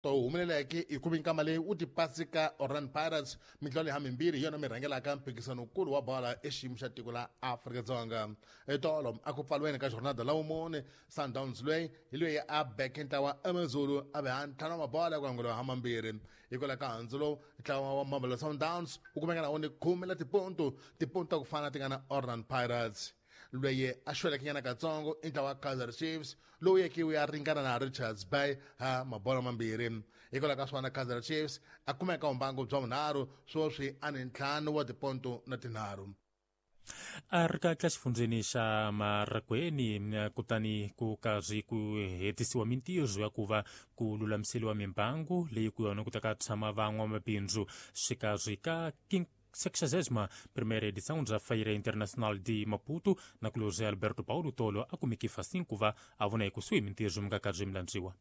To humeleleke hi ku minkama leyi wu tipasi ka Orlando Pirates mitlawa leyi hamimbirhi hi yona mi rhangelaka mphikizano wukulu wa bola exiyimo xa tiko la Afrika-Dzonga. Etolo a ku pfaliweni ka jornada la vumune, Sundowns loyi hi loyi a beke ntlawa AmaZulu a ve ha ntlhanu wa mabola ku angula ha mambirhi. Hikwalaho ka handzu lowu, ntlawa wa Mamelodi Sundowns wu kumeka na wona khume la tiponto, tiponto ta ku fana ti nga na Orlando Pirates. Loyi a xweleke nyana katsongo i ntlawa wa Kaizer Chiefs lowu yeke wu ya ringana na Richards Bay ha mabola mambirhi. Hikwalaho ka swona Kaizer Chiefs a kumeka vumbangu bya vunharhu sweswi a ni ntlhanu wa tiponto na tinharhu. A ri ka xifundzeni xa Maragweni kutani ku karhi ku hetisiwa mintirho ya ku va ku lulamiseriwa mimbangu leyi ku yona ku ta ka tshama van'wamabindzu xikarhi ka 61ª edição da Feira Internacional de Maputo, na qual José Alberto Paulo Tolo a kumeke facinho ku va a vona ekusuhi mintirho mi nga karhi mi landziwa.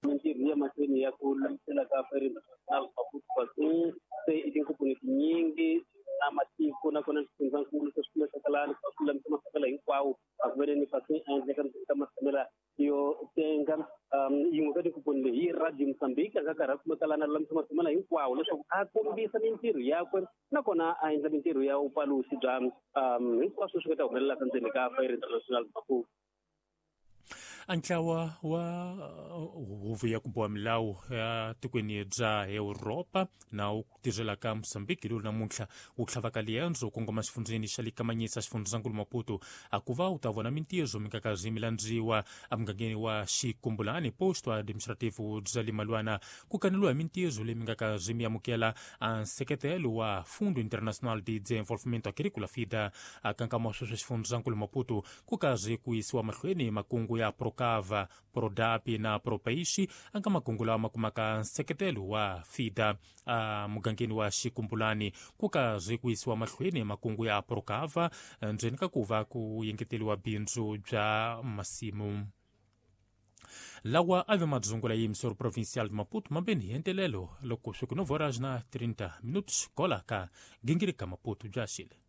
Mintirho ya mahlweni ya ku lulamisela ka Feira Internacional Maputo Fasin se i tinkomponi tinyingi na matiko nakona swifundzankulu se swi kumekaka lani ku lulamisa masakela hinkwawo a ku vele ni Fasin a endleka ka matshamela yo tenga. Yin'we ka tinkomponi leyi yi Radio Mozambique a nga karhi a kumeka lana lulamisa matshamela hinkwawo leswaku a kombisa mintirho yakwe nakona a endla mintirho ya vupalusi bya hinkwaswo swi nga ta humelelaka ndzeni ka Feira International Maputo. A ntlawa wa huvo ya ku boha milawu ya tikweni bya Europa na wu tirhelaka Mozambique lowu namuntlha wu tlhavaka liendzo ku kongoma xifundzeni xa le Kamanyisa xifundzankulu Maputo a ku va u ta vona mintirho mi nga karhi mi landziwa emugangeni wa Xikumbulani posto administrativo bya le Malwana ku kaneliwa hi mintirho leyi mi nga karhi mi amukela a nseketelo wa Fundo Internacional de Desenvolvimento Agrícola FIDA. A kankama sweswi xifundzankulu Maputo ku karhi ku yisiwa mahlweni makungu ya Procava, Prodapi na Propeixe anga makungu lawa ma kumaka nseketelo wa FIDA. A mugangeni wa Xikumbulani ku karhi ku yisiwa mahlweni makungu ya Procava ndzeni ka ku va ku yengeteliwa bindzu bya masimu. Lawa a ve madzungula ya emissora provincial de Maputo mambeni hi entelelo loko swi ku 9 horas na 30 minutos kola ka gingirika Maputo bya xile.